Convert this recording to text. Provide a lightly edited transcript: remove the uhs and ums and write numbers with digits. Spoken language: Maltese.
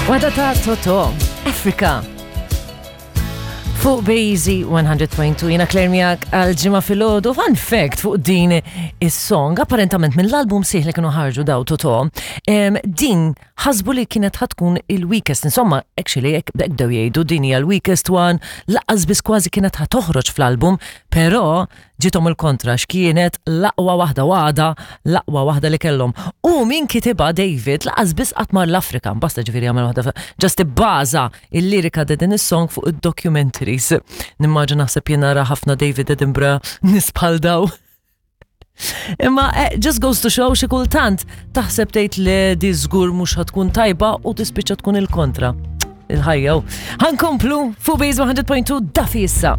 Wada ta' Toto, Africa. Fuq Bazy 100.2 jina Claire miegħek għal ġimgħa filgħodu. Fun fact fuq din is-song, apparentament mill-album sieħ li kienu ħarġu daw Toto, din ħasbu li kienet ħatkun il-weakest. Insomma, actually, hekk bdew jgħidu din hija l-weakest one, laqas biss kważi kienet ħa toħroġ fl-album, però ġiethom il-kontra x'kienet l-aqwa waħda u għadha l-aqwa waħda li kellhom. U min kitibha David laqas biss qatt mar l-Afrika, basta ġifieri għamel waħda just ibbaża il-lirika ta' din is-song fuq id-documentaries. Nimmaġina naħseb jien nara ħafna David Edinburgh nies bħal daw. Imma eh, just goes to show xi kultant taħseb tgħid li di żgur mhux tkun tajba u tispiċċa tkun il-kontra. Il-ħajja. Ħankomplu fuq Base 100.2 dafi issa.